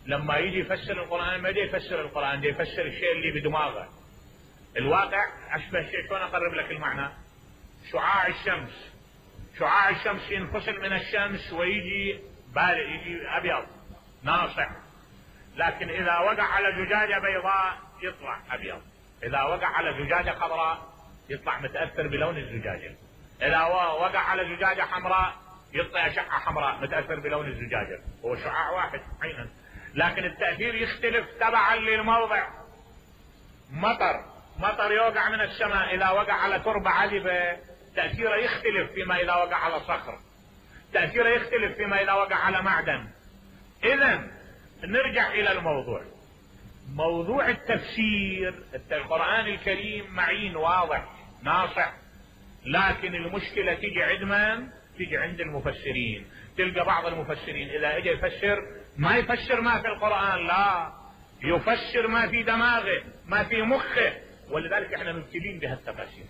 لما يجي يفسر القرآن ما يجي يفسر القرآن، يجي يفسر الشيء اللي بدماغه. الواقع أشبه شيء، شلون أقرب لك المعنى؟ شعاع الشمس، شعاع الشمس ينفصل من الشمس ويجي بارق، يجي أبيض ناصع، لكن إذا وقع على زجاجة بيضاء يطلع أبيض، إذا وقع على زجاجة خضراء يطلع متأثر بلون الزجاجة، إذا وقع على زجاجة حمراء يطلع أشعة حمراء متأثر بلون الزجاجة. هو شعاع واحد عينا، لكن التأثير يختلف تبعا للموضع. مطر يوقع من السماء، إذا وقع على تربة عذبة تأثيره يختلف فيما إذا وقع على صخر، تأثيره يختلف فيما إذا وقع على معدن. إذن نرجع إلى الموضوع، موضوع التفسير. القرآن الكريم معين واضح ناصع، لكن المشكلة تيجي عند من؟ تيجي عند المفسرين. تلقى بعض المفسرين إذا اجى يفسر ما يفسر ما في القرآن، لا يفسر ما في دماغه ما في مخه، ولذلك احنا مبتلين بهالتفاسير.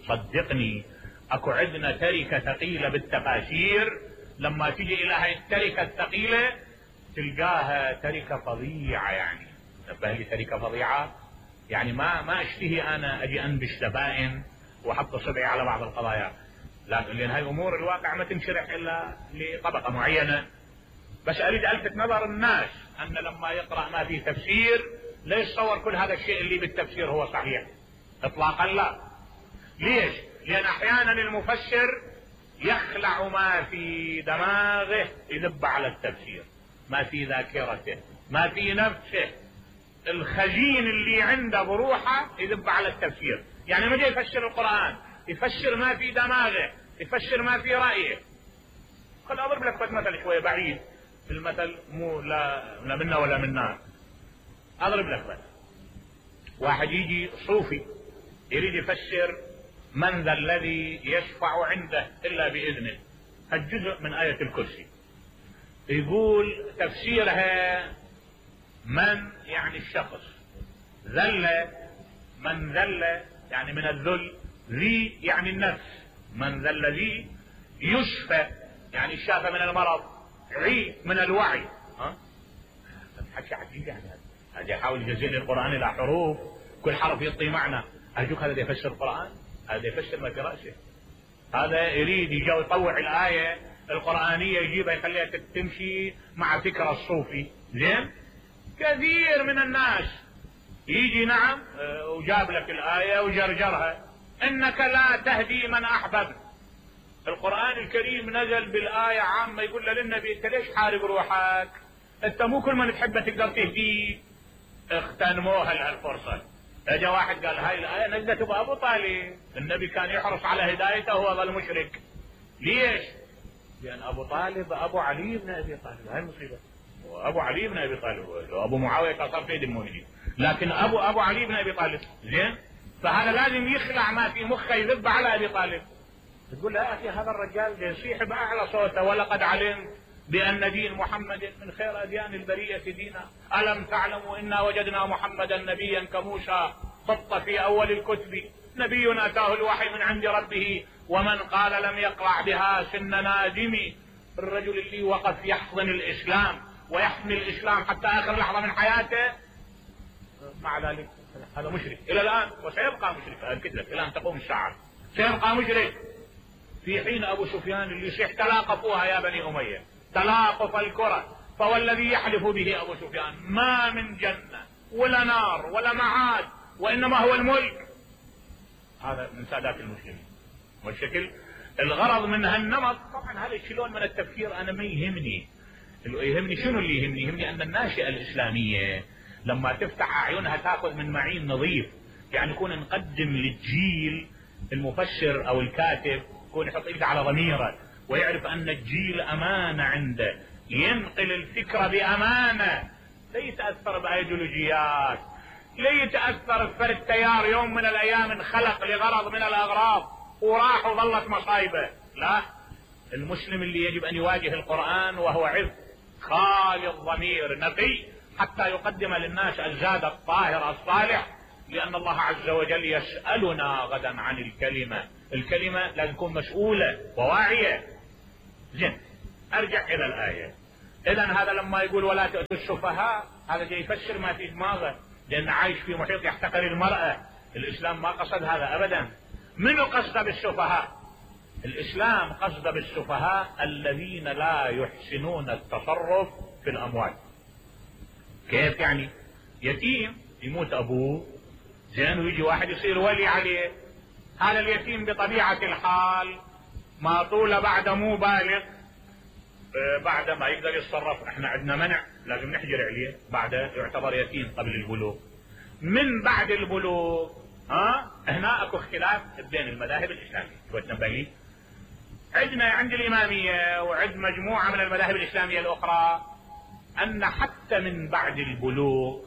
صدقني اكو عندنا تركة ثقيلة بالتفاسير، لما تيجي الى هاي التركة الثقيلة تلقاها تركة فظيعة. يعني نبه لي تركة فظيعة، يعني ما اشتهي انا اجي انبش زبائن واحط صبعي على بعض القضايا، لان هاي الامور الواقع ما تنشرح الا لطبقة معينة. بس اريد الفت نظر الناس ان لما يقرأ ما في تفسير لا يتصور كل هذا الشيء اللي بالتفسير هو صحيح اطلاقا، لا. ليش؟ لان احيانا المفسر يخلع ما في دماغه يذب على التفسير، ما في ذاكرته ما في نفسه، الخزين اللي عنده بروحه يذب على التفسير. يعني ما جاي يفسر القرآن، يفسر ما في دماغه، يفسر ما في رأيه. خل اضرب لك مثل شوية بعيد، المثل مو لا منا ولا منا. اضرب لك مثل، واحد يجي صوفي يريد يفسر من ذا الذي يشفع عنده الا باذنه، الجزء من آية الكرسي، يقول تفسيرها من يعني الشخص، ذل من ذل يعني من الذل، ذي يعني النفس، من ذا الذي يشفى يعني الشافى من المرض، عي من الوعي. حكي عجيب يعني. هذا يحاول يجزئ القرآن الى حروف، كل حرف يعطي معنى. ارجوك هذا يفسر القرآن؟ هذا يفسر ما في رأسه. هذا يريد يجي يطوع الآية القرآنية يجيبها يخليها تمشي مع فكرة الصوفي. زين؟ كثير من الناس يجي نعم وجاب لك الآية وجرجرها، انك لا تهدي من احببت. القرآن الكريم نزل بالآية عامة يقول للنبي انت ليش حارب روحك؟ انت مو كل من تحبه تقدر تهديه. اغتنموها لهالفرصة. اجى واحد قال هاي الآية نزلت بأبو طالب، النبي كان يحرص على هدايته وهو ظل مشرك. ليش؟ لأن أبو طالب أبو علي بن أبي طالب، هاي المصيبة. أبو علي بن أبي طالب، أبو معاوية كان صار سيد المؤمنين، لكن أبو علي بن أبي طالب. زين؟ فهذا لازم يخلع ما في مخه يذب على أبي طالب. تقول له يا أخي هذا الرجال يصيح بأعلى صوته، ولقد علمت بأن دين محمد من خير أديان البرية دينا، ألم تعلموا إنا وجدنا محمدا نبيا كموسى خط في أول الكتب، نبي أتاه الوحي من عند ربه ومن قال لم يقرع بها سن نادم. الرجل اللي وقف يحضن الإسلام ويحمي الإسلام حتى آخر لحظة من حياته، مع ذلك هذا مشرك إلى الآن وسيبقى مشرك. أكد لك إلى أن تقوم الساعة سيبقى مشرك. في حين أبو سفيان اللي يصيح تلاقفوها يا بني أمية، تلاقف الكرة، فوالذي يحلف به أبو سفيان ما من جنة ولا نار ولا معاد وإنما هو الملك. هذا من سادات المسلمين. والشكل الغرض من هالنمط طبعا هذا الشلون من التفكير انا ما يهمني. يهمني شنو اللي يهمني؟ يهمني ان الناشئة الاسلامية لما تفتح اعينها تاخذ من معين نظيف، يعني يكون نقدم للجيل المفسر او الكاتب يكون يحط ايده على ضميره ويعرف ان الجيل امانة عنده، ينقل الفكرة بامانة، لا يتأثر بايديولوجيات، لا يتأثر فرد تيار يوم من الايام انخلق لغرض من الاغراض وراح وظلت مصايبه. لا، المسلم اللي يجب ان يواجه القرآن وهو عذب خالي الضمير نقي حتى يقدم للناس الزاد الطاهر الصالح، لان الله عز وجل يسألنا غدا عن الكلمة لازم تكون مسؤولة وواعية. زين، ارجع الى الآية. اذا هذا لما يقول ولا تؤتوا السفهاء هذا جاي يفسر ما في دماغه، لانه عايش في محيط يحتقر المرأة. الاسلام ما قصد هذا ابدا. منو قصد بالسفهاء؟ الاسلام قصد بالسفهاء الذين لا يحسنون التصرف في الاموال. كيف يعني؟ يتيم يموت ابوه زين ويجي واحد يصير ولي عليه، هذا اليتيم بطبيعة الحال ما طول بعد مو بالغ، بعد ما يقدر يتصرف احنا عندنا منع لازم نحجر عليه، بعد يعتبر يتيم قبل البلوغ. من بعد البلوغ هنا اكو اختلاف بين المذاهب الاسلاميه. شو تنبه لي؟ عندنا عند الاماميه وعند مجموعه من المذاهب الاسلاميه الاخرى ان حتى من بعد البلوغ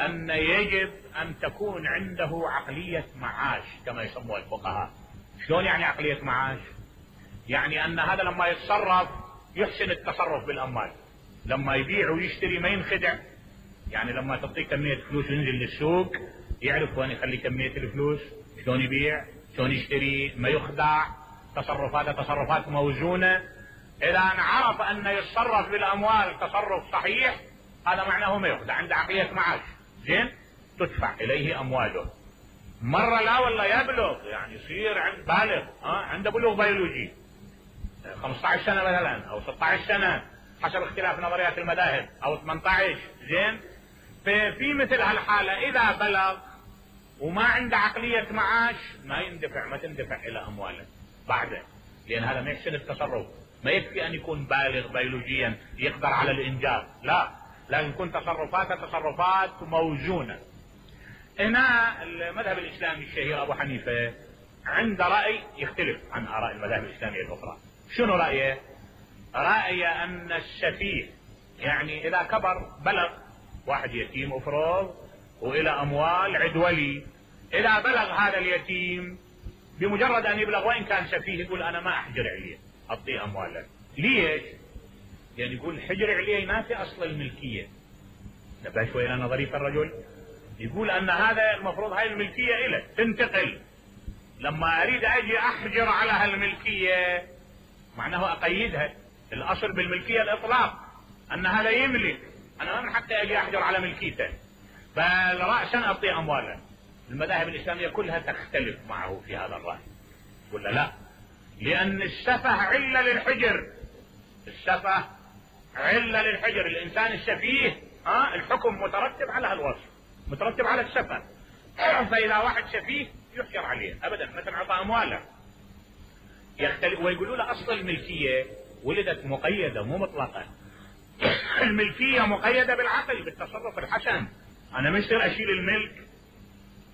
ان يجب ان تكون عنده عقليه معاش كما يسموها الفقهاء. شلون يعني عقليه معاش؟ يعني ان هذا لما يتصرف يحسن التصرف بالاموال، لما يبيع ويشتري ما ينخدع. يعني لما تعطيه كميه فلوس وينزل للسوق يعرف وين يخلي كميه الفلوس، شلون يبيع، شلون يشتري، ما يخدع. تصرفاته تصرفات موزونه. اذا عرف ان يتصرف بالاموال تصرف صحيح هذا معناه ما يخدع، عنده عقليه معاش. زين، تدفع اليه امواله. مره لا والله يبلغ، يعني يصير بالغ، عنده بلوغ بيولوجي 15 سنه مثلا او 16 سنه حسب اختلاف نظريات المذاهب او 18. زين، في مثل هالحاله اذا بلغ وما عنده عقليه معاش ما تندفع الى امواله بعده، لان هذا ما يحسن التصرف. ما يكفي ان يكون بالغ بيولوجيا يقدر على الانجاب، لا، لازم يكون تصرفاته تصرفات موزونه. هنا المذهب الاسلامي الشهير ابو حنيفه عنده راي يختلف عن اراء المذاهب الاسلاميه الاخرى. شنو رايه؟ رايه ان السفيه، يعني اذا كبر بلغ، واحد يتيم افرض والى اموال عد ولي، اذا بلغ هذا اليتيم بمجرد ان يبلغ وان كان سفيه يقول انا ما احجر عليه اعطيه امواله. ليش؟ يعني يقول حجر عليه ينافي اصل الملكيه. نبه شوي الى نظريه الرجل، يقول ان هذا المفروض هاي الملكيه له تنتقل، لما اريد اجي احجر على هالملكيه معناه اقيدها. الاصل بالملكيه الاطلاق، ان هذا يملك، انا ما من حقي اجي احجر على ملكيته، بل راسا اعطيه امواله. المذاهب الاسلاميه كلها تختلف معه في هذا الراي، ولا لا؟ لان السفه عله للحجر، السفه عله للحجر. الانسان السفيه الحكم مترتب على هالوصف، مترتب على السفه. فاذا واحد سفيه يحجر عليه ابدا، مثلا اعطى امواله يختلف. ويقولوا له اصل الملكيه ولدت مقيده مو مطلقه. الملكيه مقيده بالعقل بالتصرف الحسن. انا ما يصير اشيل الملك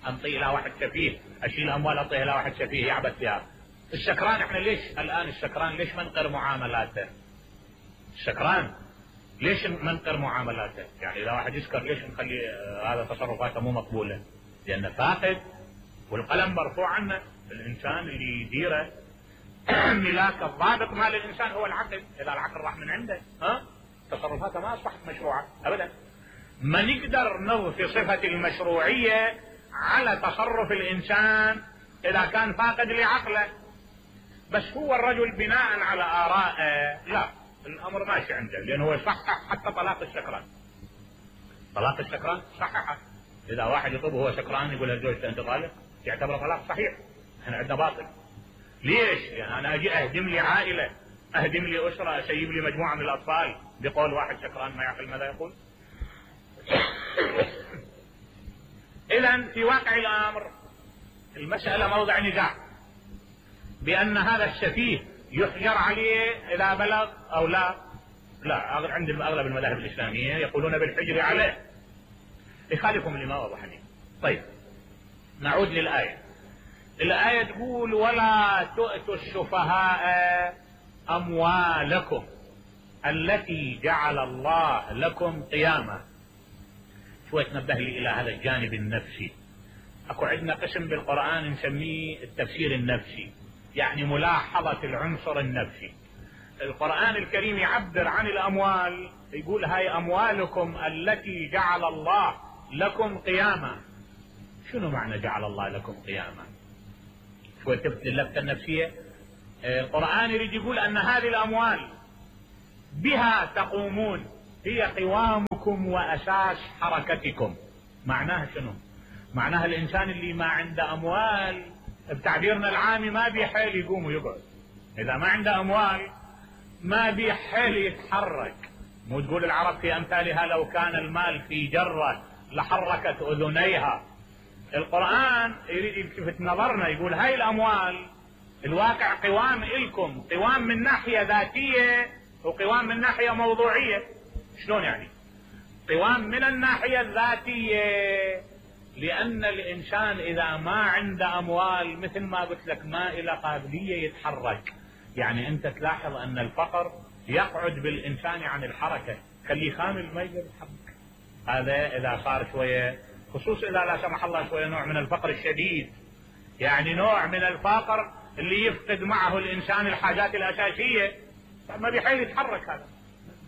انطيه الى واحد سفيه، اشيل اموال اعطيها الى واحد سفيه يعبث فيها. السكران احنا ليش الان السكران ليش منقر معاملاته؟ السكران ليش منقر معاملاته؟ يعني اذا واحد يسكر ليش نخلي هذا تصرفاته مو مقبوله؟ لانه فاقد والقلم مرفوع عنه. الانسان اللي يديره ملاك الضابط مال الانسان هو العقل. اذا العقل راح من عنده تصرفاته ما اصبحت مشروعه ابدا. ما نقدر نضفي صفه المشروعيه على تصرف الانسان اذا كان فاقد لعقله. بس هو الرجل بناء على آرائه لا، الامر ماشي عنده، لانه هو يصحح حتى طلاق السكران. طلاق السكران صححه. اذا واحد يطلب وهو سكران يقول لزوجته انت طالق، يعتبر طلاق صحيح. احنا عندنا باطل. ليش؟ يعني انا اجي اهدم لي عائله، اهدم لي اسره، اسيب لي مجموعه من الاطفال بقول واحد سكران ما يعقل ماذا يقول. اذا في واقع الامر المساله موضع نزاع بان هذا السفيه يحجر عليه اذا بلغ او لا. لا، عند اغلب المذاهب الاسلاميه يقولون بالحجر عليه، يخالفهم الامام ابو حنيفه. طيب نعود للايه. الايه تقول ولا تؤتوا السفهاء اموالكم التي جعل الله لكم قياما. شوي تنبه لي الى هذا الجانب النفسي. اكو عندنا قسم بالقرآن نسميه التفسير النفسي، يعني ملاحظة العنصر النفسي. القرآن الكريم يعبر عن الاموال، يقول هاي اموالكم التي جعل الله لكم قياما. شنو معنى جعل الله لكم قياما؟ شوي تفت اللفتة النفسية. القرآن يريد يقول ان هذه الاموال بها تقومون، هي قوامكم وأساس حركتكم. معناها شنو؟ معناها الإنسان اللي ما عنده أموال بتعبيرنا العامي ما بيحيل يقوم ويقعد. إذا ما عنده أموال ما بيحيل يتحرك. مو تقول العرب في أمثالها لو كان المال في جرة لحركت أذنيها. القرآن يريد يلفت نظرنا، يقول هاي الأموال الواقع قوام إلكم، قوام من ناحية ذاتية وقوام من ناحية موضوعية. شلون يعني؟ قوام من الناحية الذاتية لأن الإنسان إذا ما عنده أموال مثل ما قلت لك ما إلى قابلية يتحرك. يعني أنت تلاحظ أن الفقر يقعد بالإنسان عن الحركة، خليه خامل ما يقدر يتحرك. هذا إذا صار شوية، خصوصا إذا لا سمح الله شوية نوع من الفقر الشديد، يعني نوع من الفقر اللي يفقد معه الإنسان الحاجات الأساسية ما بيحيل يتحرك، هذا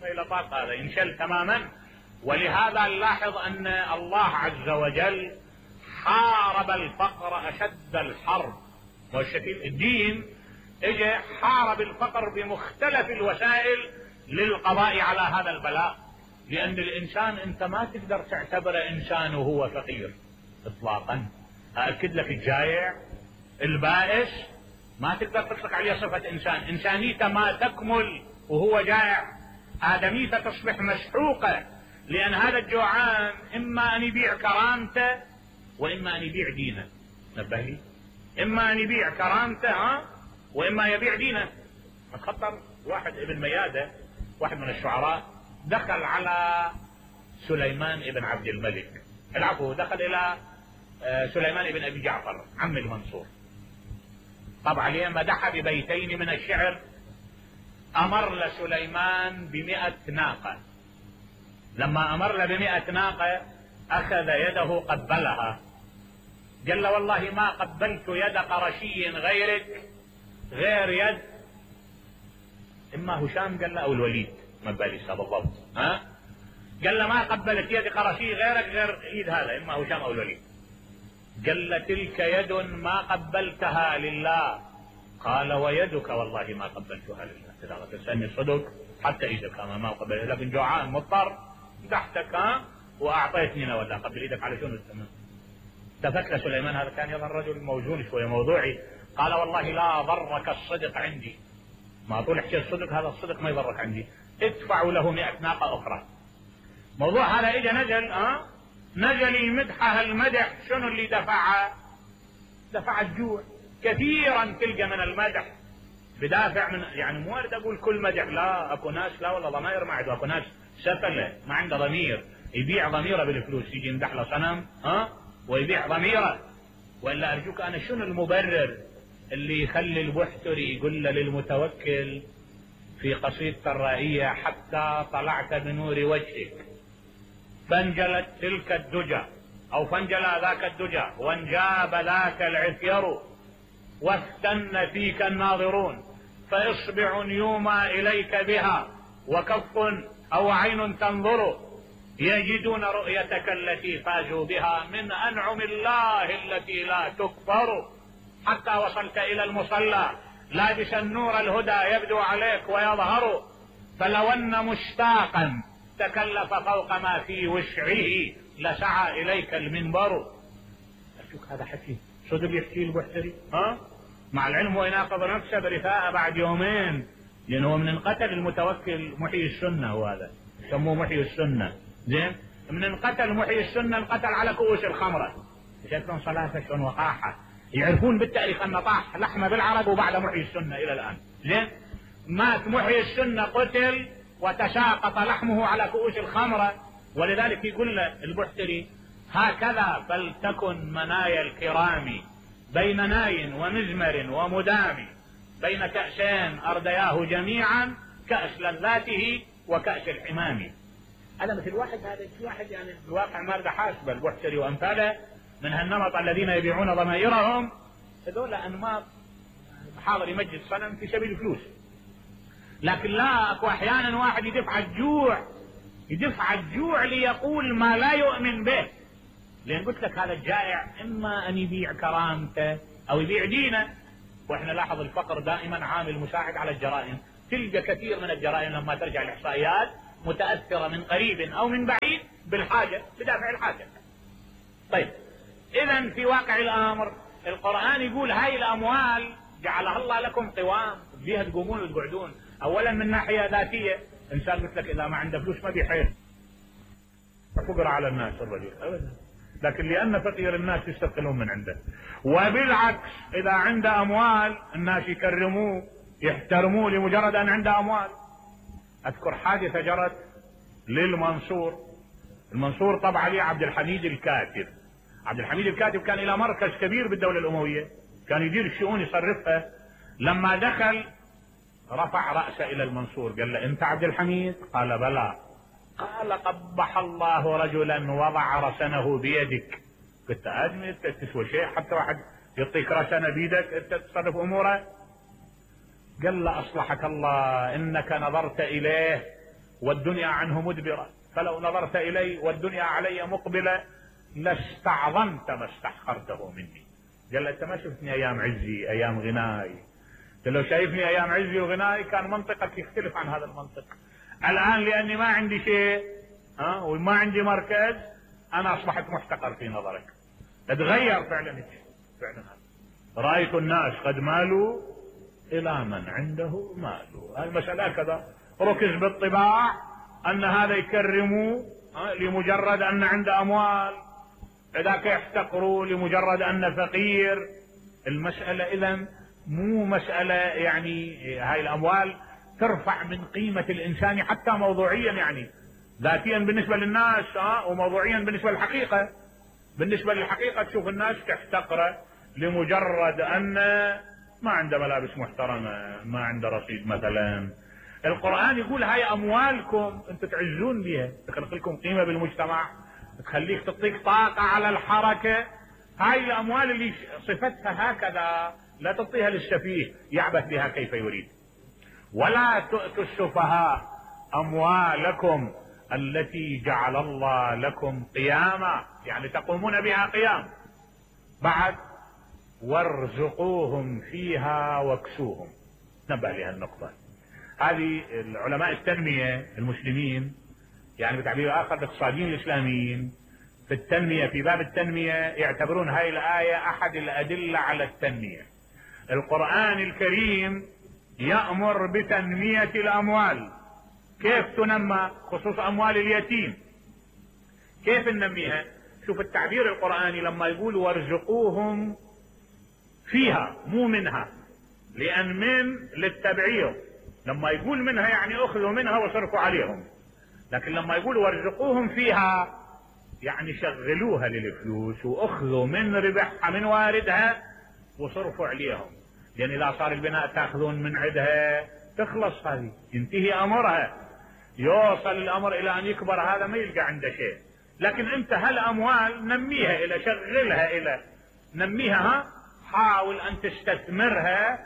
ما إلى طاقة، هذا ينشل تماما. ولهذا نلاحظ أن الله عز وجل حارب الفقر أشد الحرب. والشكل الدين اجى حارب الفقر بمختلف الوسائل للقضاء على هذا البلاء. لأن الإنسان أنت ما تقدر تعتبره إنسان وهو فقير إطلاقا. أأكد لك الجائع البائس ما تقدر تطلق عليه صفة إنسان. إنسانيته ما تكمل وهو جائع، آدميته تصبح مسحوقة. لأن هذا الجوعان إما أن يبيع كرامته وإما أن يبيع دينه. نبه لي، إما أن يبيع كرامته وإما يبيع دينه. اتخطر واحد ابن ميادة، واحد من الشعراء، دخل على سليمان ابن عبد الملك، العفو، دخل إلى سليمان ابن أبي جعفر عم المنصور. طبعا عليه مدح ببيتين من الشعر. أمر لسليمان ب100 ناقة. لما أمر له ب100 ناقة أخذ يده قبلها، قال له والله ما قبلت يد قرشي غيرك غير يد إما هشام قال له أو الوليد، ما بالي بالضبط، قال له ما قبلت يد قرشي غيرك غير ايد هذا إما هشام أو الوليد. قال له تلك يد ما قبلتها لله. قال ويدك والله ما قبلتها لله. إذا تسألني صدق حتى ايدك ما قبلتها، لكن جوعان مضطر تحتك واعطيتني ولا قبل ايدك على شنو التمام. التفت لسليمان، هذا كان يظهر رجل موزون شويه موضوعي، قال والله لا ضرك الصدق عندي، ما طول حكي الصدق، هذا الصدق ما يضرك عندي، ادفعوا له 100 ناقة أخرى. موضوع هذا اجى نزل يمدحها المدح. شنو اللي دفع الجوع. كثيرا تلقى من المدح بدافع من، يعني مو اريد اقول كل مدح، لا، اكو ناس لا والله ضمائر ما عنده، اكو ناس سفله ما عنده ضمير، يبيع ضميره بالفلوس، يجي يمدح له صنم ويبيع ضميره. والا ارجوك انا شنو المبرر اللي يخلي البحتري يقول له للمتوكل في قصيدة الرائية حتى طلعت بنور وجهك فانجلت تلك الدجى او فانجلى ذاك الدجى وانجاب ذاك العثير واستن فيك الناظرون فاصبع يومى اليك بها وكف او عين تنظر يجدون رؤيتك التي فازوا بها من انعم الله التي لا تكفر حتى وصلت الى المصلى لابس النور الهدى يبدو عليك ويظهر فلو ان مشتاقا تكلف فوق ما في وسعه لسعى اليك المنبر. اشوف هذا حكي صدق يحكي البحتري مع العلم ويناقض نفسه برثاء بعد يومين، لانه من انقتل المتوكل محيي السنه، وهذا يسموه محيي السنه. زين، من انقتل محيي السنه انقتل على كؤوس الخمره. شكلهم صلاه شلون وقاحه، يعرفون بالتاريخ ان طاح لحمه بالعرب وبعد محيي السنه الى الان. زين، مات محيي السنه قتل وتساقط لحمه على كؤوس الخمره. ولذلك يقول له البحتري هكذا فلتكن منايا الكرام بين ناي ومزمر ومدام بين كأسين أردياه جميعا كأس لذاته وكأس الحمام. هذا مثل واحد، هذا واحد يعني الواقع ما رضى حاسبه البحتري وأمثاله من هالنمط الذين يبيعون ضمائرهم، هذول أنماط حاضر يمجد صنم في سبيل الفلوس. لكن لا، اكو احيانا واحد يدفع الجوع ليقول ما لا يؤمن به. لان قلت لك هذا الجائع اما ان يبيع كرامته او يبيع دينه. واحنا لاحظ الفقر دائما عامل مساعد على الجرائم. تلقى كثير من الجرائم لما ترجع الاحصائيات متأثرة من قريب او من بعيد بالحاجة، بدافع الحاجة. طيب اذا في واقع الامر القرآن يقول هاي الاموال جعلها الله لكم قوام بيها تقومون وتقعدون. اولا من ناحية ذاتية، انسان مثلك اذا ما عنده فلوس ما بيحيل فقر على الناس الرجل ابدا، لكن لان فقير الناس يستقلون من عنده. وبالعكس اذا عنده اموال الناس يكرموه يحترموه لمجرد ان عنده اموال. اذكر حادثة جرت المنصور طبع عليه عبد الحميد الكاتب. عبد الحميد الكاتب كان الى مركز كبير بالدولة الاموية، كان يدير الشؤون يصرفها. لما دخل رفع رأسه الى المنصور قال له انت عبد الحميد؟ قال بلى. قال قبح الله رجلا وضع رسنه بيدك. قلت ادمي انت تسوى شيء حتى واحد يعطيك رسنه بيدك انت تصرف اموره؟ قال له اصلحك الله انك نظرت اليه والدنيا عنه مدبره، فلو نظرت الي والدنيا علي مقبله لاستعظمت ما استحقرته مني. قال له انت ما شفتني ايام عزي ايام غناي، لو شايفني ايام عزي وغناي كان منطقك يختلف عن هذا المنطق. الان لاني ما عندي شيء وما عندي مركز انا اصبحت محتقر في نظرك. تتغير فعلا رأيت الناس قد مالوا الى من عنده مال. المسألة كذا ركز بالطباع ان هذا يكرموا لمجرد ان عنده اموال، ذاك يحتقروا لمجرد ان فقير. المسألة اذا مو مسألة يعني هاي الاموال ترفع من قيمة الانسان حتى موضوعيا، يعني ذاتيا بالنسبة للناس وموضوعيا بالنسبة للحقيقة. بالنسبة للحقيقة تشوف الناس تحتقره لمجرد ان ما عنده ملابس محترمة، ما عنده رصيد مثلا. القرآن يقول هاي اموالكم انتم تعزون بها، تخلق لكم قيمة بالمجتمع، تخليك تعطيك طاقة على الحركة. هاي الاموال اللي صفتها هكذا لا تعطيها للسفيه يعبث بها كيف يريد. ولا تؤتوا السفهاء اموالكم التي جعل الله لكم قياما، يعني تقومون بها قيام. بعد وارزقوهم فيها واكسوهم. نبه لها النقطة هذه. العلماء التنمية المسلمين يعني بتعبير اخر الاقتصاديين الاسلاميين في التنمية، في باب التنمية يعتبرون هاي الآية احد الادلة على التنمية. القرآن الكريم يأمر بتنمية الاموال. كيف تنمى؟ خصوص اموال اليتيم كيف ننميها؟ شوف التعبير القرآني لما يقول وارزقوهم فيها مو منها، لان من للتبعير. لما يقول منها يعني اخذوا منها وصرفوا عليهم، لكن لما يقول وارزقوهم فيها يعني شغلوها للفلوس واخذوا من ربحها من واردها وصرفوا عليهم. يعني اذا صار البناء تاخذون من عندها تخلص هذه ينتهي امرها، يوصل الامر الى ان يكبر هذا ما يلقى عنده شيء. لكن انت هالاموال نميها الى شغلها الى نميها، حاول ان تستثمرها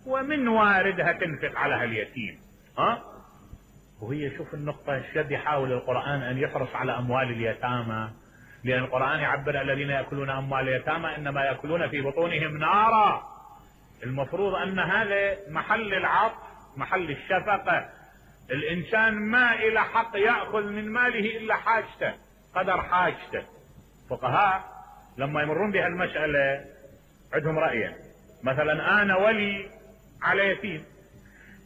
ومن واردها تنفق على هاليتيم. وهي شوف النقطة الشد يحاول القرآن ان يحرص على اموال اليتامى، لان القرآن يعبر الذين يأكلون اموال اليتامى انما يأكلون في بطونهم نارا. المفروض ان هذا محل العطف محل الشفقة. الانسان ما الى حق يأخذ من ماله الا حاجته قدر حاجته. فقهاء لما يمرون بهالمسألة عندهم رأيين. مثلا انا ولي على يتيم،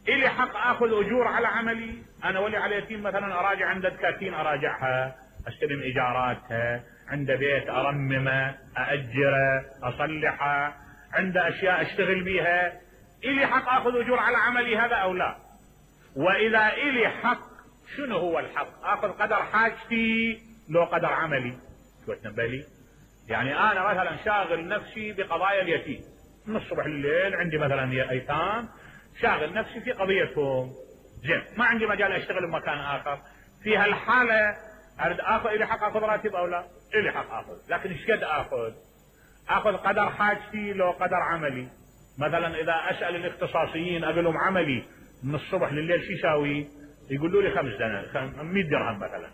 الي حق اخذ اجور على عملي. انا ولي على يتيم مثلا اراجع عنده دكاكين اراجعها، استلم ايجاراتها، عنده بيت ارممه ااجره اصلحه، عنده اشياء اشتغل بيها. الي حق اخذ اجور على عملي هذا او لا؟ واذا الي حق شنو هو الحق؟ اخذ قدر حاجتي لو قدر عملي؟ شو تنبالي؟ يعني انا مثلا شاغل نفسي بقضايا اليتيم من الصبح لليل، عندي مثلا ايتام شاغل نفسي في قضيتهم، زين ما عندي مجال اشتغل بمكان اخر. في هالحالة اريد اخذ، الي حق اخذ راتب او لا؟ الي حق اخذ، لكن ايش قد اخذ؟ اخذ قدر حاجتي لو قدر عملي. مثلا اذا اسأل الاختصاصيين اقول لهم عملي من الصبح لليل شو يساوي؟ يقولوا لي 100 درهم مثلا.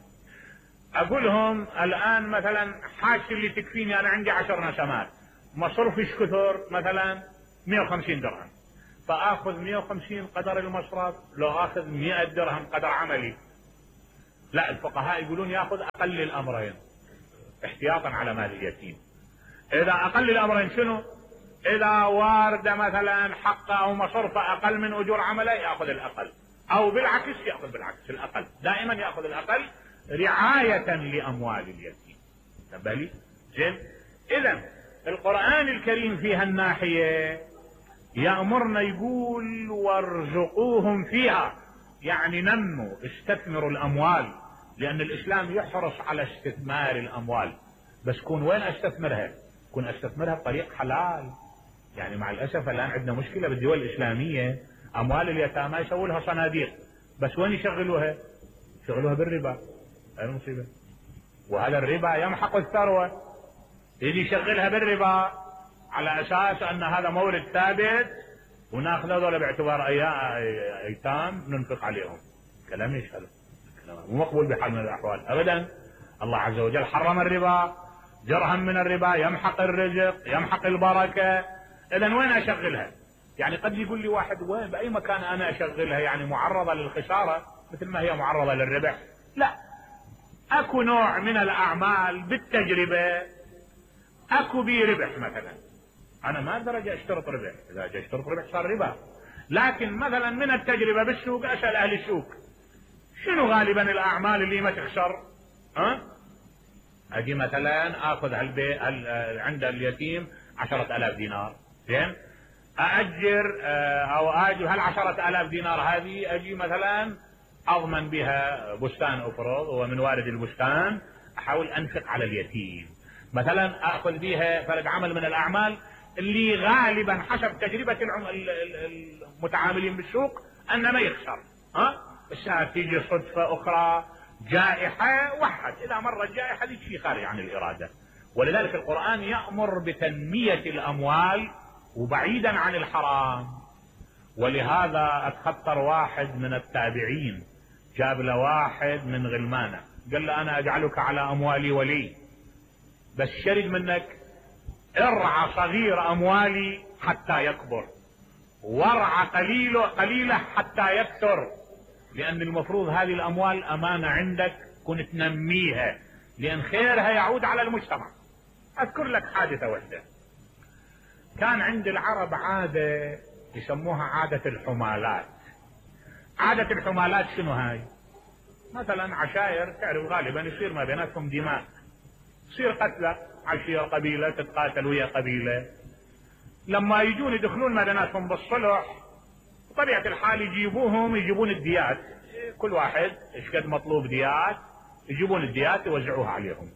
اقول لهم الان مثلا حاجتي اللي تكفيني انا عندي 10 نسمات، مصروفي ايش كثر؟ مثلا 150 درهم. فاخذ 150 قدر المصرف لو اخذ 100 درهم قدر عملي؟ لا، الفقهاء يقولون ياخذ اقل الامرين احتياطا على مال اليتيم. اذا اقل الامرين شنو؟ اذا وارد مثلا حقه او مصرفه اقل من اجور عمله ياخذ الاقل، او بالعكس ياخذ بالعكس الاقل، دائما ياخذ الاقل رعاية لاموال اليتيم. تبالي زين. اذا القرآن الكريم في هالناحية يأمرنا يقول وارزقوهم فيها، يعني نموا استثمروا الاموال، لان الاسلام يحرص على استثمار الاموال، بس كون وين استثمرها؟ كون استثمرها بطريق حلال. يعني مع الاسف الان عندنا مشكلة بالدول الاسلامية، اموال اليتامى يسووا لها صناديق، بس وين يشغلوها؟ يشغلوها بالربا. هاي المصيبة. وهذا الربا يمحق الثروة، يجي يشغلها بالربا على اساس ان هذا مورد ثابت وناخذ هذول باعتبار ايتام ننفق عليهم. كلام ايش هذا؟ مو مقبول بحال من الاحوال ابدا. الله عز وجل حرم الربا، درهم من الربا يمحق الرزق يمحق البركة. اذا وين اشغلها؟ يعني قد يقول لي واحد وين باي مكان انا اشغلها؟ يعني معرضة للخسارة مثل ما هي معرضة للربح؟ لا، اكو نوع من الاعمال بالتجربة اكو بيه ربح. مثلا انا ما اقدر اشترط ربح، اذا اجي اشترط ربح صار ربا. لكن مثلا من التجربة بالسوق اسأل اهل السوق شنو غالبا الاعمال اللي ما تخسر؟ اجي مثلا اخذ عند اليتيم 10,000 دينار، زين، ااجر او اجر هال10,000 دينار هذه اجي مثلا اضمن بها بستان افرض، ومن وارد البستان احاول انفق على اليتيم. مثلا اخذ بها فرق عمل من الاعمال اللي غالبا حسب تجربة المتعاملين بالسوق ان ما يخسر. بس تيجي صدفة اخرى جائحة وحد، اذا مرت جائحة هذه شيء خارج عن الارادة. ولذلك القرآن يأمر بتنمية الاموال وبعيدا عن الحرام. ولهذا اتخطر واحد من التابعين جاب له واحد من غلمانه قال له انا اجعلك على اموالي ولي، بس شرد منك ارعى صغير اموالي حتى يكبر، وارعى قليله حتى يكثر، لان المفروض هذه الاموال امانة عندك كنت تنميها، لان خيرها يعود على المجتمع. اذكر لك حادثة واحدة. كان عند العرب عادة يسموها عادة الحمالات. عادة الحمالات شنو هاي؟ مثلا عشائر تعرف غالبا يصير ما بيناتهم دماء، يصير قتلى، عشيرة قبيلة تتقاتل ويا قبيلة، لما يجون يدخلون ما بيناتهم بالصلح بطبيعة الحال يجيبون الديات، كل واحد ايش قد مطلوب ديات يجيبون الديات يوزعوها عليهم.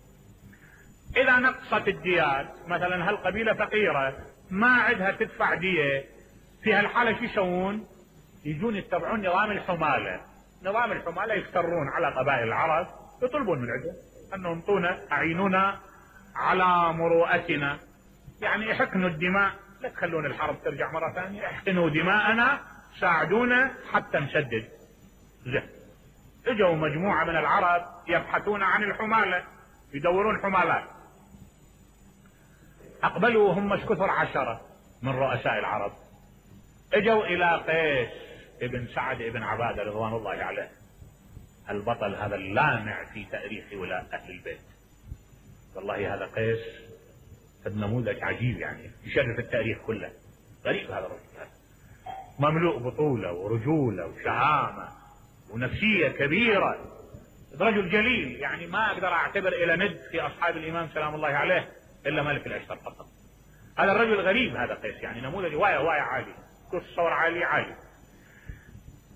اذا نقصت الديات مثلا هالقبيلة فقيرة ما عندها تدفع دية، في هالحالة شو يسوون؟ يجون يتبعون نظام الحمالة. نظام الحمالة يفترون على قبائل العرب يطلبون من عندهم انهم اعينونا على مروءتنا، يعني احقنوا الدماء، لا تخلون الحرب ترجع مرة ثانية، احقنوا دماءنا، ساعدونا حتى نسدد. زين، اجوا مجموعة من العرب يبحثون عن الحمالة، يدورون حمالات. اقبلوا هم كثر 10 من رؤساء العرب، اجوا الى قيس ابن سعد ابن عبادة رضوان الله عليه، البطل هذا اللامع في تاريخ ولاء اهل البيت. والله هذا قيس نموذج عجيب، يعني يشرف التاريخ كله. غريب هذا الرجل، مملوء بطولة ورجولة وشهامة ونفسية كبيرة، رجل جليل، يعني ما اقدر اعتبر الى ند في اصحاب الامام سلام الله عليه الا ملك الاشتر فقط. هذا الرجل غريب هذا قيس، يعني نموذج وايا عالي، تصور عالي.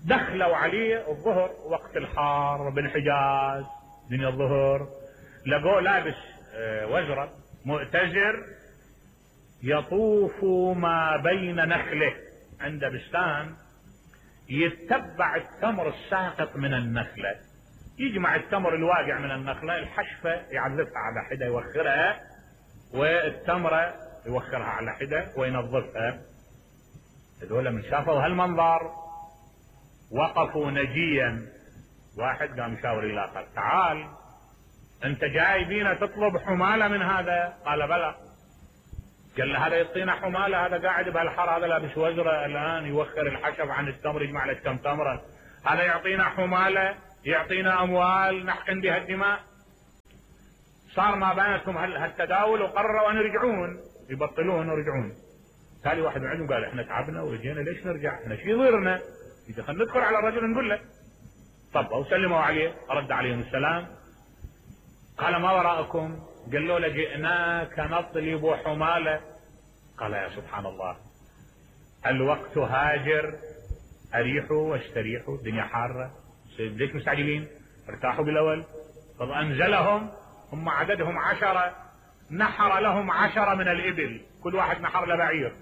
دخلوا عليه الظهر وقت الحار بالحجاز من الظهر، لقوه لابس وزرة مؤتزر يطوف ما بين نخله، عند بستان يتبع التمر الساقط من النخلة، يجمع التمر الواقع من النخلة، الحشفة يعذبها على حدة يوخرها، والتمرة يوخرها على حدة وينظفها. هذول من شافوا هالمنظر وقفوا نجيا. واحد قام يشاور الاخر، تعال انت جاي بينا تطلب حمالة من هذا؟ قال بلى. قال له هذا يعطينا حمالة، هذا قاعد بهالحر، هذا لابس وزرة الآن يوخر الحشب عن التمر، يجمع له كم تمرة، هذا يعطينا حمالة، يعطينا أموال نحقن بها الدماء. صار ما بينتهم هالتداول، وقرروا أن يرجعون، يبطلون ويرجعون. تالي واحد من عندهم قال احنا تعبنا وجينا ليش نرجع؟ احنا شي يضيرنا؟ إذا خلينا ندخل على الرجل نقول له. طب وسلموا عليه، رد عليهم السلام، قال ما وراءكم؟ قالوا له جئناك نطلب حمالة. قال يا سبحان الله، الوقت هاجر، أريحوا واستريحوا، الدنيا حارة، ليش مستعجلين؟ ارتاحوا بالأول. طب أنزلهم، هم عددهم 10، نحر لهم 10 من الإبل، كل واحد نحر له بعير.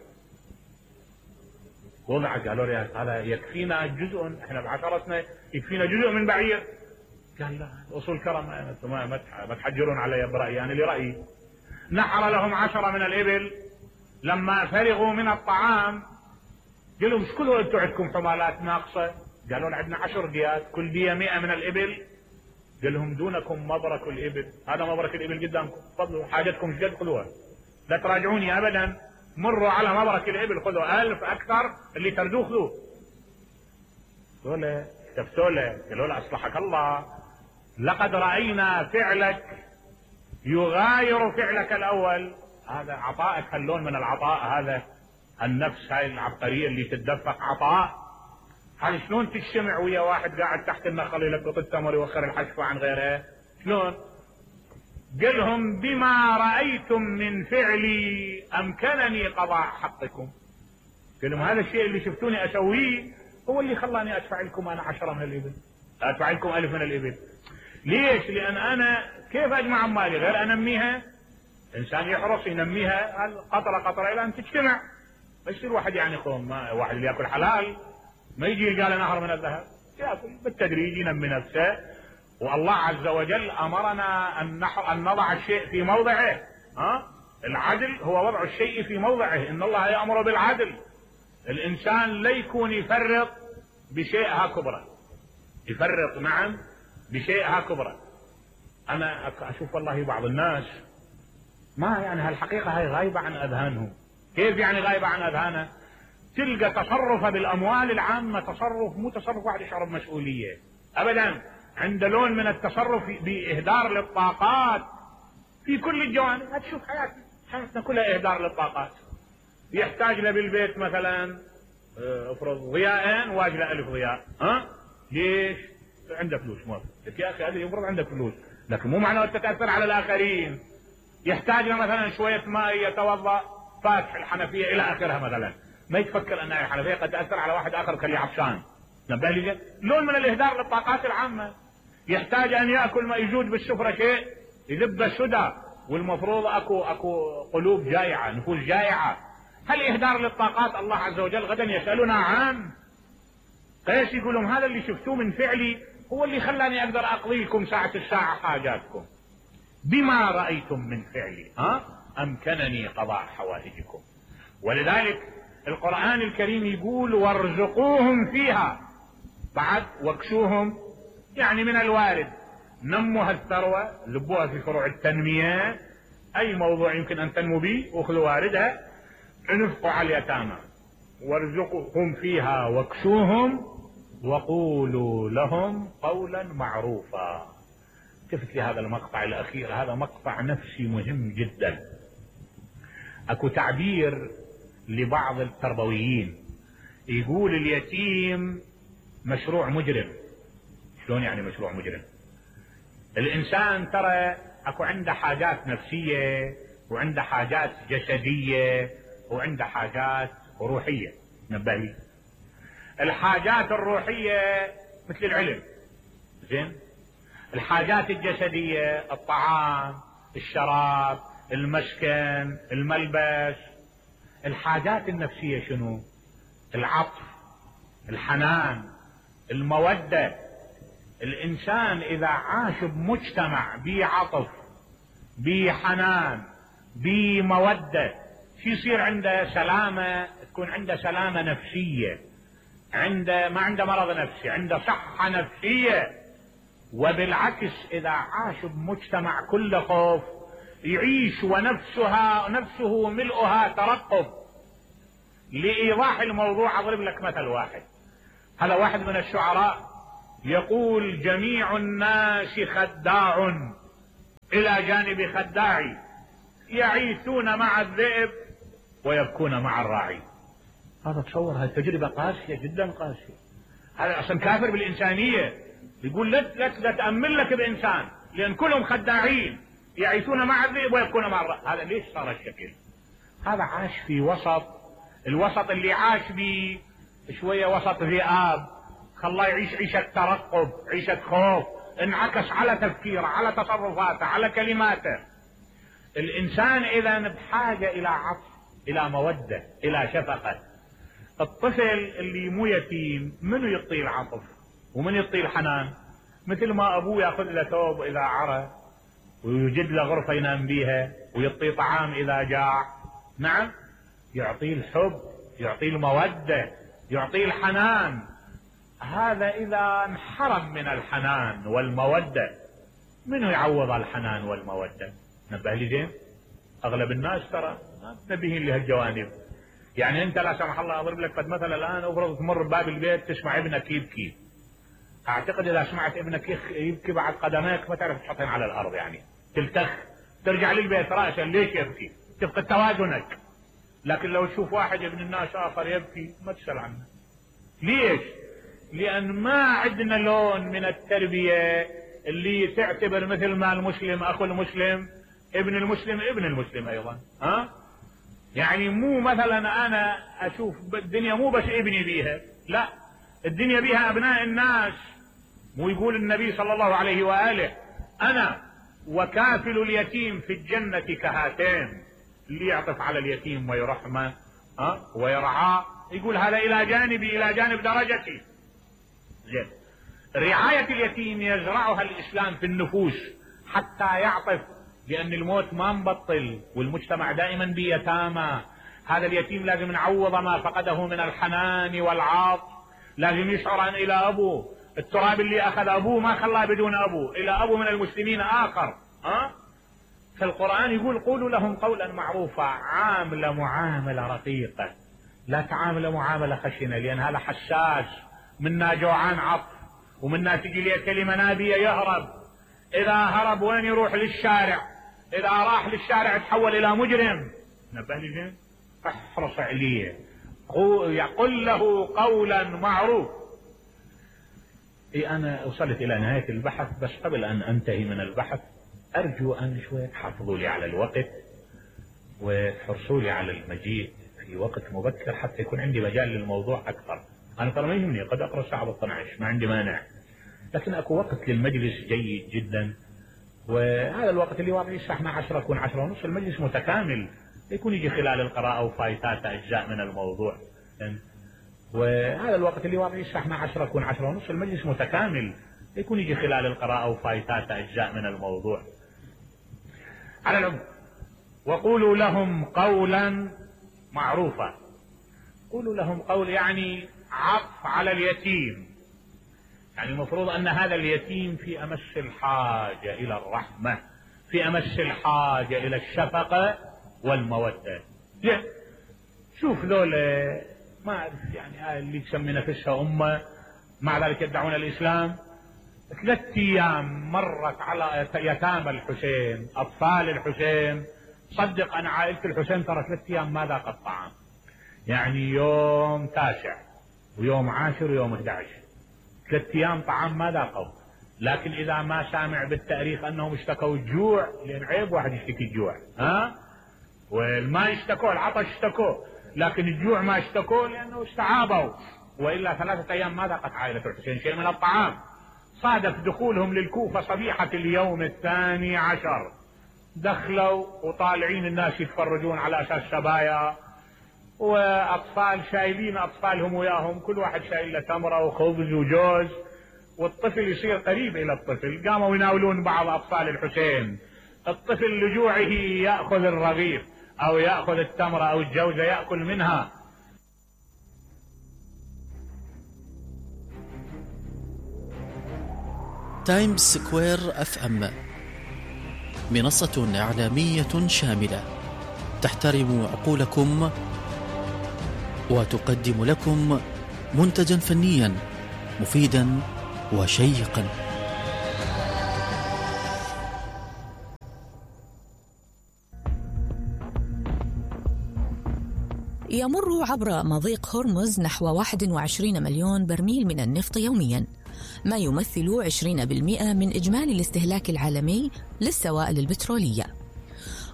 وضع قالوا له هذا يكفينا جزء، احنا بعشرتنا يكفينا جزء من بعير. قال لا، اصول كرم، انتم ما تحجرون علي برأيي، انا لرأيي. نحر لهم 10 من الإبل. لما فرغوا من الطعام قالوا لهم ايش كل انتم عندكم حمالات ناقصة؟ قالوا عندنا 10 ديات، كل دية 100 من الإبل. قال لهم دونكم مبرك الإبل، هذا مبرك الإبل قدامكم، تفضلوا حاجتكم ايش قد خذوها، لا تراجعوني ابدا، مروا على مبرك الإبل خذوا 1000 اكثر، اللي تردوه خذوه. قالوا استفتوا له، قالوا له اصلحك الله، لقد رأينا فعلك يغاير فعلك الأول، هذا عطائك، هاللون من العطاء هذا، النفس هاي العبقرية اللي تتدفق عطاء، هذه شلون تجتمع ويا واحد قاعد تحت النخل يلقط التمر يوخر الحشفة عن غيرها؟ شلون؟ قلهم بما رأيتم من فعلي أمكنني قضاء حقكم. قلهم هذا الشيء اللي شفتوني أسويه هو اللي خلاني أدفع لكم أنا 10 من الإبل، أدفع لكم 1000 من الإبل. ليش؟ لأن أنا كيف أجمع أموالي غير أنميها؟ إنسان يحرص ينميها قطرة قطرة إلى أن تجتمع. ما يصير واحد يعني قوم، واحد اللي يأكل حلال ما يجي يلقى له نهر من الذهب، يأكل بالتدريج ينمي نفسه. والله عز وجل أمرنا أن نضع الشيء في موضعه. العدل هو وضع الشيء في موضعه، إن الله يأمر بالعدل. الإنسان لا يكون يفرط بشيء كبرى، يفرط نعم بشيء كبرى. أنا أشوف والله بعض الناس ما يعني هالحقيقة هاي غايبة عن أذهانهم. كيف يعني غايبة عن أذهانه؟ تلقى تصرفه بالأموال العامة تصرف مو تصرف واحد يشعر بمسؤولية أبدا، عند لون من التصرف بإهدار للطاقات في كل الجوانب. هتشوف حياتنا كلها إهدار للطاقات. يحتاج له بالبيت مثلا افرض ضياءين واجله 1000 ضياء، ليش؟ عنده فلوس، موافق يا أخي، هذا يفرض عندك فلوس، لكن مو معناه تتأثر على الآخرين. يحتاج له مثلا شوية ماء يتوضأ، فاتح الحنفية إلى آخرها مثلا، ما يتفكر أن الحنفية قد تأثر على واحد آخر خليه عطشان. نبه لي لون من الإهدار للطاقات العامة. يحتاج أن يأكل ما يجود بالسفرة شيء يذب السدى، والمفروض أكو قلوب جائعة، نفوس جائعة. هل إهدار للطاقات الله عز وجل غدا يسألنا عنه؟ قيس يقولون هذا اللي شفتوه من فعلي هو اللي خلاني أقدر أقضي لكم ساعة الساعة حاجاتكم. بما رأيتم من فعلي أمكنني قضاء حوائجكم. ولذلك القرآن الكريم يقول وارزقوهم فيها، بعد واكسوهم، يعني من الوارد نموا هالثروة، لبوها في فروع التنمية، أي موضوع يمكن أن تنمو به وخذوا واردها، انفقوا على اليتامى، وارزقوهم فيها واكسوهم وقولوا لهم قولا معروفا. التفت لهذا المقطع الأخير، هذا مقطع نفسي مهم جدا. أكو تعبير لبعض التربويين يقول اليتيم مشروع مجرم. شلون يعني مشروع مجرم؟ الإنسان ترى أكو عنده حاجات نفسية وعنده حاجات جسدية وعنده حاجات روحية. نبهي، الحاجات الروحية مثل العلم، زين، الحاجات الجسدية الطعام، الشراب، المسكن، الملبس. الحاجات النفسية شنو؟ العطف، الحنان، المودة. الإنسان إذا عاش بمجتمع بعطف، بحنان، بمودة، شو يصير عنده؟ سلامة، تكون عنده سلامة نفسية، ما عنده مرض نفسي، عنده صحة نفسية. وبالعكس إذا عاش بمجتمع كله خوف يعيش ونفسه ملؤها ترقب. لإيضاح الموضوع أضرب لك مثل واحد. هذا واحد من الشعراء يقول: جميع الناس خداع إلى جانب خداعي، يعيثون مع الذئب ويبكون مع الراعي. هذا تصور، هذه تجربة قاسية جدا قاسية. هذا أصلا كافر بالإنسانية. يقول لا تأمل لك بإنسان، لأن كلهم خداعين، يعيثون مع الذئب ويبكون مع الراعي. هذا ليش صار الشكل؟ هذا عاش في الوسط اللي عاش به شوية وسط ذئاب، خلاه يعيش عيشة ترقب، عيشة خوف، انعكس على تفكيره، على تصرفاته، على كلماته. الإنسان إذا بحاجة إلى عطف، إلى مودة، إلى شفقة. الطفل اللي مو يتيم منو يعطيه العطف ومن يعطيه الحنان؟ مثل ما أبوه يأخذ له ثوب إذا عرى، ويوجد له غرفة ينام بيها، ويعطيه طعام إذا جاع. نعم، يعطيه الحب، يعطيه المودة، يعطيه الحنان. هذا إذا انحرم من الحنان والمودة، منو يعوض الحنان والمودة؟ نبه لي زين، أغلب الناس ترى ما تنبهين لهالجوانب. يعني أنت لا سمح الله أضرب لك مثلا الآن، أفرض تمر بباب البيت تسمع ابنك يبكي، أعتقد إذا سمعت ابنك يبكي بعد قدميك ما تعرف تحطين على الأرض، يعني تلتخ، ترجع للبيت رأسا ليش يبكي، تفقد توازنك. لكن لو تشوف واحد ابن الناس آخر يبكي ما تسأل عنه. ليش؟ لأن ما عندنا لون من التربية اللي تعتبر مثل ما المسلم أخو المسلم، ابن المسلم أيضا. يعني مو مثلا أنا أشوف الدنيا مو بس ابني بيها، لا، الدنيا بيها أبناء الناس. مو يقول النبي صلى الله عليه وآله: أنا وكافل اليتيم في الجنة كهاتين. اللي يعطف على اليتيم ويرحمه ويرعاه، يقول هذا إلى جانب درجتي. زين، رعاية اليتيم يزرعها الإسلام في النفوس حتى يعطف، لأن الموت ما مبطل والمجتمع دائما بيتامى. هذا اليتيم لازم نعوض ما فقده من الحنان والعاطف، لازم يشعر أن إلى أبوه التراب اللي أخذ أبوه ما خلاه بدون أبوه، إلى أبوه من المسلمين آخر. فالقرآن يقول: قولوا لهم قولا معروفا، عاملة معاملة رقيقة، لا تعامل معاملة خشنة، لأن هذا حساس، منا جوعان عطف، ومنا تجي لي كلمة نابية يهرب. إذا هرب وين يروح؟ للشارع. إذا راح للشارع تحول إلى مجرم. نبه لي زين، احرص عليه، يقول له قولا معروف. أنا وصلت إلى نهاية البحث، بس قبل أن أنتهي من البحث أرجو أن شوية تحافظوا لي على الوقت وتحرصوا لي على المجيء في وقت مبكر حتى يكون عندي مجال للموضوع أكثر. أنا ترى ما يهمني، قد أقرأ الساعة 12 ما عندي مانع، لكن أكو وقت للمجلس جيد جدا. وهذا الوقت اللي واضح الساعة 12 يكون 10:30، المجلس متكامل، يكون يجي خلال القراءة وفايتات أجزاء من الموضوع. وهذا الوقت اللي واضح الساعة 12 يكون 10:30، المجلس متكامل، يكون يجي خلال القراءة وفايتات أجزاء من الموضوع. على العموم، وقولوا لهم قولا معروفا. قولوا لهم قول يعني عطف على اليتيم، يعني المفروض أن هذا اليتيم في أمس الحاجة إلى الرحمة، في أمس الحاجة إلى الشفقة والمودة. شوف ذولا ما أعرف يعني اللي تسمي نفسها أمة، مع ذلك يدعون الإسلام. 3 أيام مرت على يتامى الحسين، أطفال الحسين. صدق أنا عائلة الحسين ترى 3 أيام ما ذاقت الطعام، يعني يوم 9 ويوم 10 ويوم 11، 3 أيام طعام ما ذاقوا. لكن إذا ما سامع بالتاريخ أنهم اشتكوا الجوع، لأن عيب واحد يشتكي الجوع، والماء اشتكوا، العطش اشتكوا، لكن الجوع ما اشتكوا لأنه استعابوا. وإلا 3 أيام ما ذاقت عائلة الحسين شيء من الطعام. صادف دخولهم للكوفة صبيحة اليوم 12، دخلوا وطالعين الناس يتفرجون على أساس سبايا، وأطفال شايلين أطفالهم وياهم، كل واحد شايل له تمرة وخبز وجوز، والطفل يصير قريب إلى الطفل. قاموا يناولون بعض أطفال الحسين. الطفل لجوعه يأخذ الرغيف أو يأخذ التمرة أو الجوزة يأكل منها. تايمز سكوير FM منصة إعلامية شاملة تحترم عقولكم وتقدم لكم منتجا فنيا مفيدا وشيقا. يمر عبر مضيق هرمز نحو 21 مليون برميل من النفط يومياً، ما يمثل 20% من إجمالي الاستهلاك العالمي للسوائل البترولية.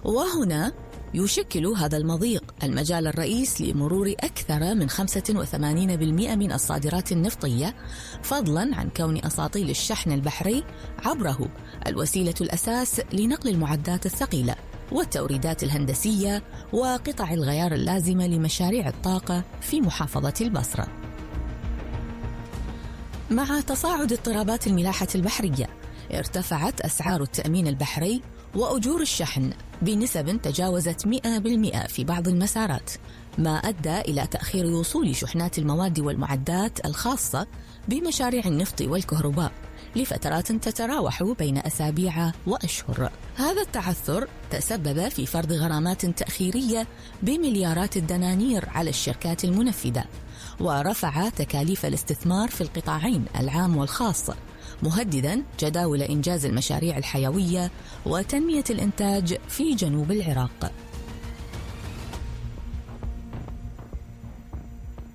وهنا يشكل هذا المضيق المجال الرئيس لمرور أكثر من 85% من الصادرات النفطية، فضلاً عن كون أساطيل الشحن البحري عبره الوسيلة الأساس لنقل المعدات الثقيلة والتوريدات الهندسية وقطع الغيار اللازمة لمشاريع الطاقة في محافظة البصرة. مع تصاعد اضطرابات الملاحة البحرية، ارتفعت أسعار التأمين البحري وأجور الشحن بنسب تجاوزت 100% في بعض المسارات، ما أدى إلى تأخير وصول شحنات المواد والمعدات الخاصة بمشاريع النفط والكهرباء لفترات تتراوح بين أسابيع وأشهر. هذا التعثر تسبب في فرض غرامات تأخيرية بمليارات الدنانير على الشركات المنفذة، ورفع تكاليف الاستثمار في القطاعين العام والخاص، مهدداً جداول إنجاز المشاريع الحيوية وتنمية الإنتاج في جنوب العراق.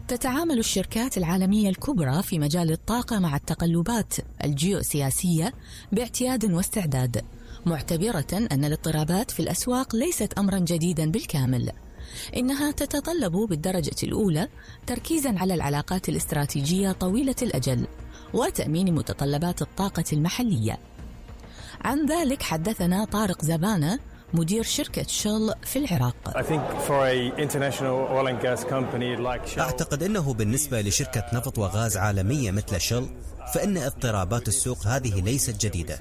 تتعامل الشركات العالمية الكبرى في مجال الطاقة مع التقلبات الجيوسياسية باعتياد واستعداد، معتبرة أن الاضطرابات في الأسواق ليست أمرا جديدا بالكامل، إنها تتطلب بالدرجة الأولى تركيزا على العلاقات الاستراتيجية طويلة الأجل وتأمين متطلبات الطاقة المحلية. عن ذلك حدثنا طارق زبانة، مدير شركة شل في العراق. أعتقد أنه بالنسبة لشركة نفط وغاز عالمية مثل شل، فإن اضطرابات السوق هذه ليست جديدة.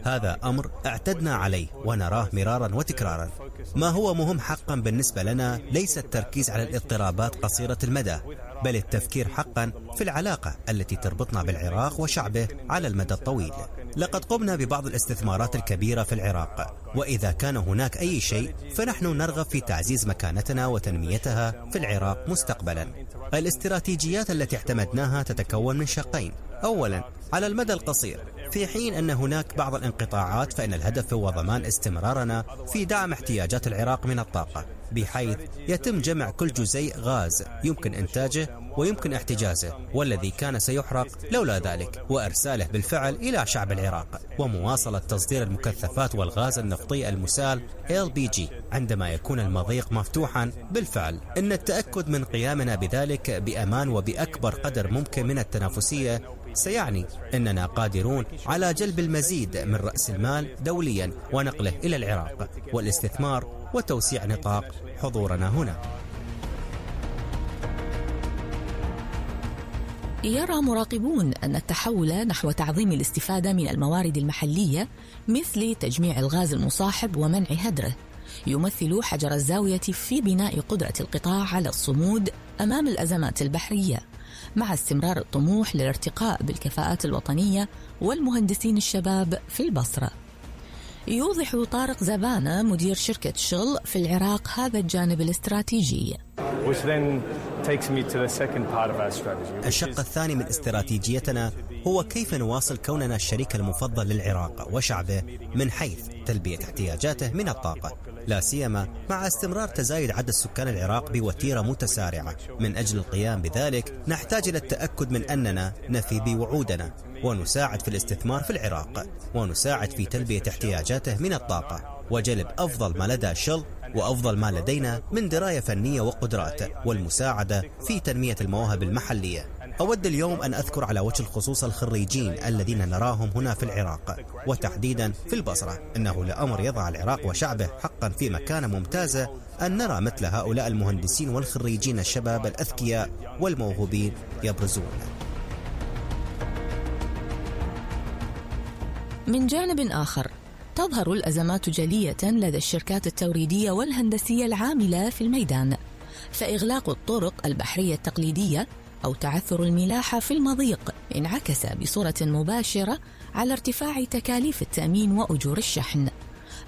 هذا أمر اعتدنا عليه ونراه مرارا وتكرارا. ما هو مهم حقا بالنسبة لنا ليس التركيز على الاضطرابات قصيرة المدى، بل التفكير حقا في العلاقة التي تربطنا بالعراق وشعبه على المدى الطويل. لقد قمنا ببعض الاستثمارات الكبيرة في العراق، وإذا كان هناك أي شيء فنحن نرغب في تعزيز مكانتنا وتنميتها في العراق مستقبلا. الاستراتيجيات التي اعتمدناها تتكون من شقين. أولا، على المدى القصير، في حين أن هناك بعض الانقطاعات، فإن الهدف هو ضمان استمرارنا في دعم احتياجات العراق من الطاقة، بحيث يتم جمع كل جزيء غاز يمكن إنتاجه ويمكن احتجازه والذي كان سيحرق لولا ذلك، وإرساله بالفعل إلى شعب العراق، ومواصلة تصدير المكثفات والغاز النفطي المسال LPG عندما يكون المضيق مفتوحا بالفعل. إن التأكد من قيامنا بذلك بأمان وبأكبر قدر ممكن من التنافسية سيعني أننا قادرون على جلب المزيد من رأس المال دوليا ونقله إلى العراق والاستثمار وتوسيع نطاق حضورنا هنا. يرى مراقبون أن التحول نحو تعظيم الاستفادة من الموارد المحلية مثل تجميع الغاز المصاحب ومنع هدره يمثل حجر الزاوية في بناء قدرة القطاع على الصمود أمام الأزمات البحرية، مع استمرار الطموح للارتقاء بالكفاءات الوطنية والمهندسين الشباب في البصرة. يوضح طارق زبانة مدير شركة شل في العراق هذا الجانب الاستراتيجي. الشق الثاني من استراتيجيتنا هو كيف نواصل كوننا الشريك المفضل للعراق وشعبه من حيث تلبية احتياجاته من الطاقة، لا سيما مع استمرار تزايد عدد سكان العراق بوتيرة متسارعة. من أجل القيام بذلك نحتاج إلى التأكد من أننا نفي بوعودنا ونساعد في الاستثمار في العراق، ونساعد في تلبية احتياجاته من الطاقة، وجلب أفضل ما لدى شل وأفضل ما لدينا من دراية فنية وقدرات، والمساعدة في تنمية المواهب المحلية. أود اليوم أن أذكر على وجه الخصوص الخريجين الذين نراهم هنا في العراق وتحديدا في البصرة. إنه لأمر يضع العراق وشعبه حقا في مكانة ممتازة أن نرى مثل هؤلاء المهندسين والخريجين الشباب الأذكياء والموهوبين يبرزون. من جانب آخر، تظهر الأزمات جلية لدى الشركات التوريدية والهندسية العاملة في الميدان، فإغلاق الطرق البحرية التقليدية أو تعثر الملاحة في المضيق انعكس بصورة مباشرة على ارتفاع تكاليف التأمين وأجور الشحن،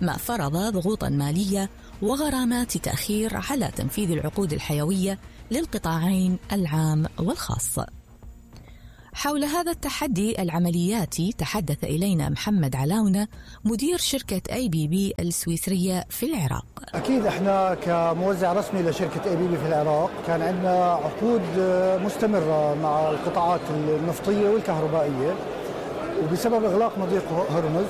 ما فرض ضغوطا مالية وغرامات تأخير على تنفيذ العقود الحيوية للقطاعين العام والخاص. حول هذا التحدي العملياتي تحدث إلينا محمد علاونة مدير شركة ABB السويسرية في العراق. أكيد إحنا كموزع رسمي لشركة ABB في العراق كان عندنا عقود مستمرة مع القطاعات النفطية والكهربائية، وبسبب إغلاق مضيق هرمز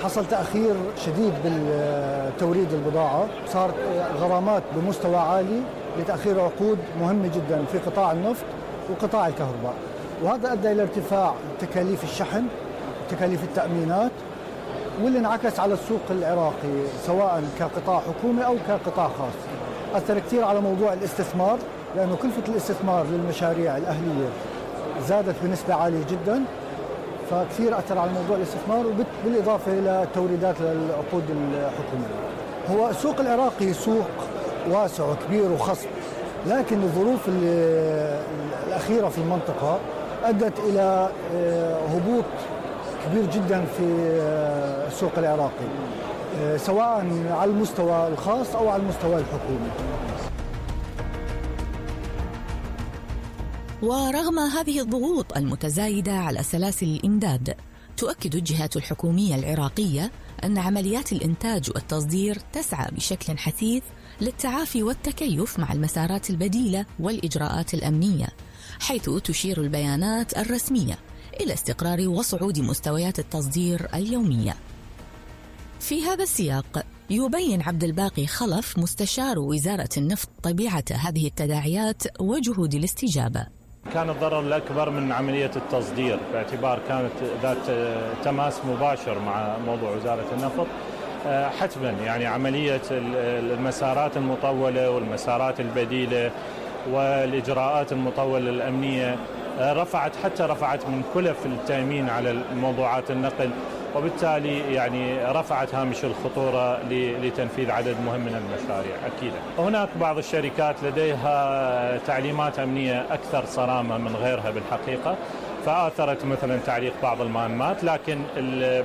حصل تأخير شديد بالتوريد البضاعة، صارت غرامات بمستوى عالي لتأخير عقود مهمة جدا في قطاع النفط وقطاع الكهرباء، وهذا أدى إلى ارتفاع تكاليف الشحن وتكاليف التأمينات، واللي انعكس على السوق العراقي سواء كقطاع حكومي أو كقطاع خاص. أثر كثير على موضوع الاستثمار، لأنه كلفة الاستثمار للمشاريع الأهلية زادت بنسبة عالية جدا، فكثير أثر على موضوع الاستثمار، بالإضافة إلى توريدات للعقود الحكومية. هو السوق العراقي سوق واسع وكبير وخصب، لكن الظروف الأخيرة في المنطقة أدت إلى هبوط كبير جدا في السوق العراقي، سواء على المستوى الخاص أو على المستوى الحكومي. ورغم هذه الضغوط المتزايدة على سلاسل الإمداد، تؤكد الجهات الحكومية العراقية أن عمليات الإنتاج والتصدير تسعى بشكل حثيث للتعافي والتكيف مع المسارات البديلة والإجراءات الأمنية، حيث تشير البيانات الرسمية إلى استقرار وصعود مستويات التصدير اليومية. في هذا السياق يبين عبد الباقي خلف مستشار وزارة النفط طبيعة هذه التداعيات وجهود الاستجابة. كان الضرر الأكبر من عملية التصدير، باعتبار كانت ذات تماس مباشر مع موضوع وزارة النفط. حتما يعني عملية المسارات المطولة والمسارات البديلة والإجراءات المطولة الأمنية رفعت من كلف التأمين على موضوعات النقل، وبالتالي يعني رفعت هامش الخطورة لتنفيذ عدد مهم من المشاريع. أكيد هناك بعض الشركات لديها تعليمات أمنية أكثر صرامة من غيرها بالحقيقة، فآثرت مثلا تعليق بعض المهمات، لكن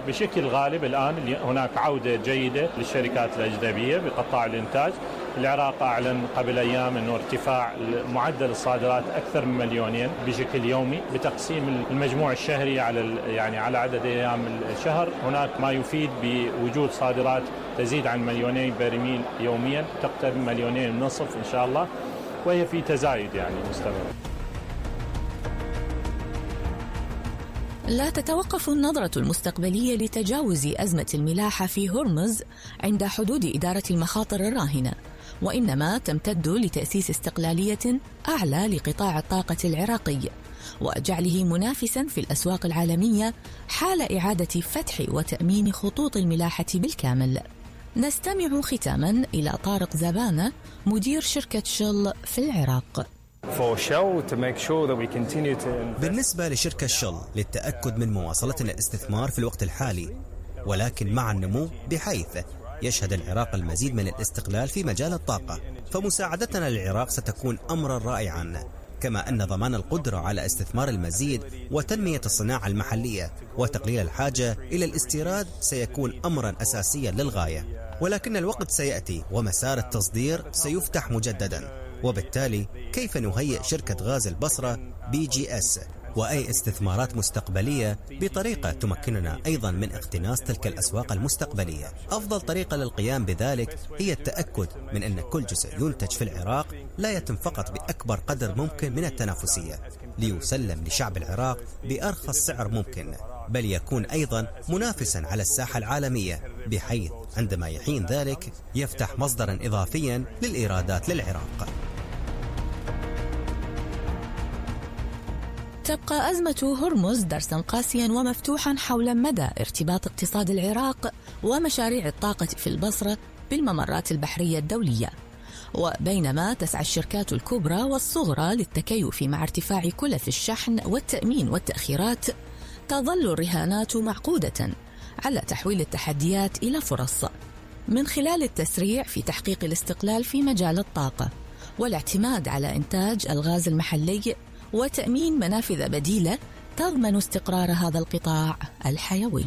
بشكل غالب الآن هناك عودة جيدة للشركات الأجنبية بقطاع الإنتاج. العراق أعلن قبل أيام أنه ارتفاع معدل الصادرات أكثر من 2 مليون بشكل يومي، بتقسيم المجموع الشهري على عدد أيام الشهر. هناك ما يفيد بوجود صادرات تزيد عن 2 مليون برميل يوميا، تقترب 1.5 مليون إن شاء الله، وهي في تزايد مستمر. لا تتوقف النظرة المستقبلية لتجاوز أزمة الملاحة في هرمز عند حدود إدارة المخاطر الراهنة، وإنما تمتد لتأسيس استقلالية أعلى لقطاع الطاقة العراقي وجعله منافسا في الأسواق العالمية حال إعادة فتح وتأمين خطوط الملاحة بالكامل. نستمع ختاما إلى طارق زبانة مدير شركة شل في العراق. بالنسبة لشركة شل للتأكد من مواصلة الاستثمار في الوقت الحالي، ولكن مع النمو، بحيث يشهد العراق المزيد من الاستقلال في مجال الطاقة، فمساعدتنا للعراق ستكون أمرا رائعا، كما أن ضمان القدرة على استثمار المزيد وتنمية الصناعة المحلية وتقليل الحاجة إلى الاستيراد سيكون أمرا أساسيا للغاية. ولكن الوقت سيأتي ومسار التصدير سيفتح مجددا، وبالتالي كيف نهيئ شركة غاز البصرة BGS وأي استثمارات مستقبلية بطريقة تمكننا أيضا من اقتناص تلك الأسواق المستقبلية؟ أفضل طريقة للقيام بذلك هي التأكد من أن كل جزء ينتج في العراق لا يتم فقط بأكبر قدر ممكن من التنافسية ليسلم لشعب العراق بأرخص سعر ممكن، بل يكون أيضا منافسا على الساحة العالمية، بحيث عندما يحين ذلك يفتح مصدرا إضافيا للإيرادات للعراق. تبقى أزمة هرمز درسا قاسيا ومفتوحا حول مدى ارتباط اقتصاد العراق ومشاريع الطاقة في البصرة بالممرات البحرية الدولية. وبينما تسعى الشركات الكبرى والصغرى للتكيف مع ارتفاع كلف الشحن والتأمين والتأخيرات، تظل الرهانات معقودة على تحويل التحديات إلى فرص من خلال التسريع في تحقيق الاستقلال في مجال الطاقة والاعتماد على إنتاج الغاز المحلي وتأمين منافذ بديلة تضمن استقرار هذا القطاع الحيوي.